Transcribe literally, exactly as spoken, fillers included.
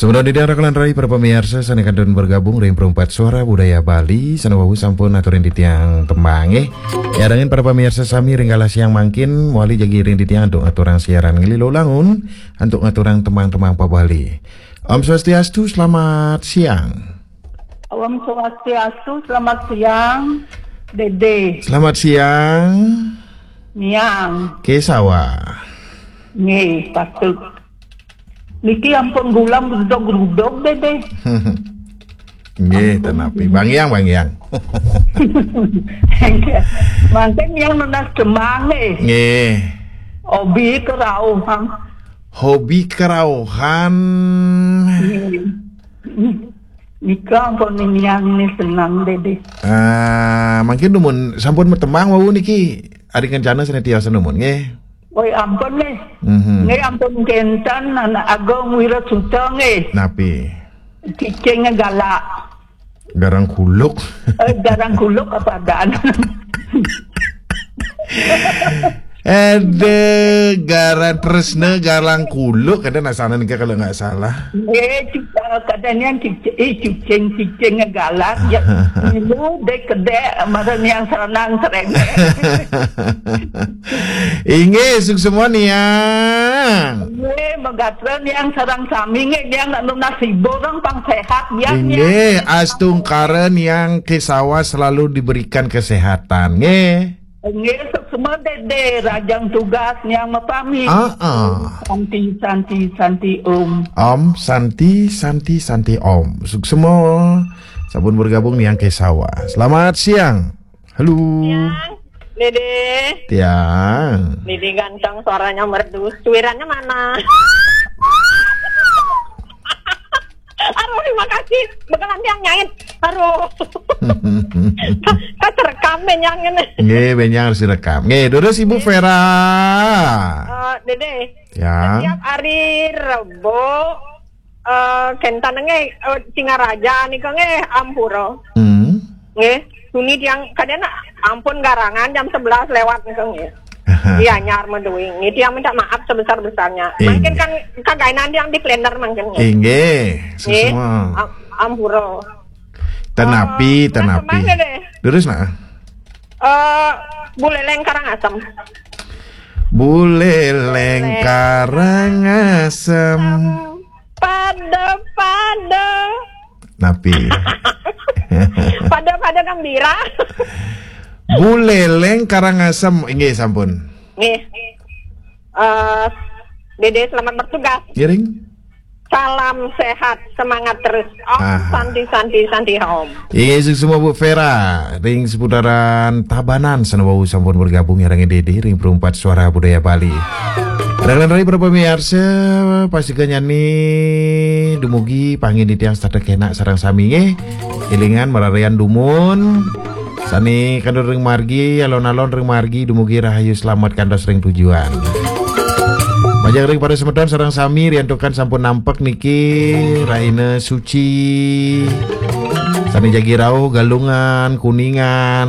Semeton titiang rakan rai para pamiarsa sané kantun bergabung ring Perumpat Suara Budaya Bali, sané wau sampun aturin titiang tembang, eh. Nyarengin para pamiarsa sami ring galah siang mangkin, mawali jagi ring titiang antuk ngaturang siaran nglilo langun, antuk ngaturang tembang-tembang pa Bali. Om Swastiastu, selamat siang. Om Swastiastu, selamat siang, Dede. Selamat siang. Niang. Kesawa. Nggih, patut. Niki ampun gulam grudog-grudog, Dede. Nggih, ampun, tenapi. Bang Yang, Bang Yang. Mangkin yang nunas tembang, nggih. Nggih. Hobi kerauhan. Hobi kerauhan. Nggih. Nika ampun niang ni senang, Dede. Ah, mangkin dumun sampun matembang wau niki. Ari kencana sané tiasa dumun, nggih. Oi, ampun, nggih. Mhm. Nggih, ampun kenten Anak Agung Wirasuta, nggih. Napi? Cicing galak. Garang kuluk. Eh, garang kuluk apa adaan? Ada garang tresna, garang kuluk, ada nasana nika kalau nggak salah. Eh, cu-, eh, kadang yang cicing, eh, cicing, cicing galak, ya, dek kedek, mara niang serenang serengek. Inggih, suksma niang. Nggih, megatra niang sareng sami, nggih, niang nak nunas hibur, pang sehat, ya, niang. Inggih, astungkara niang Kesawa selalu diberikan kesehatan, nggih. Nggih, suksma Dede, rahajeng tugas niang mapamit. Ah, ah. Santi, santi, santi, Om. Om, santi, santi, santi, Om. Suksma. Sampun bergabung niang Kesawa. Selamat siang. Halo. Siang, Dede. Tiang. Dede ganteng, suaranya merdu. Suirannya mana? Aduh, terima kasih. Bekalan tiang nyait. Aduh. Kan terekam, benyang ini. Nggih, benyang harus direkam. Nggih, terus Ibu Vera. Eh, Dede. Ya. Setiap hari Rebo, eh, kenten nggih, eh, Singaraja nika nggih, ampura. Hmm. Nggih, tuni tiang kadena ampun garangan jam sebelas lewat nika nggih. Iya, nyar meduing. Nggih, tiang minta maaf sebesar-besarnya. Inggih. Mungkin kan kagainan tiang di kalender mungkin nggih. Inggih, nggih, suksma. Am-, ampura. Tenapi, eh, tenapi. Nah, kemana deh? Terus nah. Eh, Buleleng Karangasem. Buleleng Karangasem. Pada-pada. Napi? Pada-pada gembira. Buleleng Karangasem. Inggih, sampun. Nggih. Eh, Dede, selamat bertugas. Ngiring. Salam sehat, semangat terus. Om, aha, Santi, Santi, Santi, Om. Inggih, suksma Bu Vera, ring seputaran Tabanan, sané wau sampun bergabung nyarengin Dede ring Perumpat Suara Budaya Bali. Rahajeng rai para pamiarsa, pastika nyarengin dumugi pangin titiang setata kenak sareng sami nggih. Élingan mararian dumun. Sané kantun ring margi, alon-alon ring margi, dumugi rahayu slamet kantos ring tujuan. Majeng ring para semeton sareng sami riantukan sampun nampek niki rahina suci. Sané jagi rauh Galungan, Kuningan.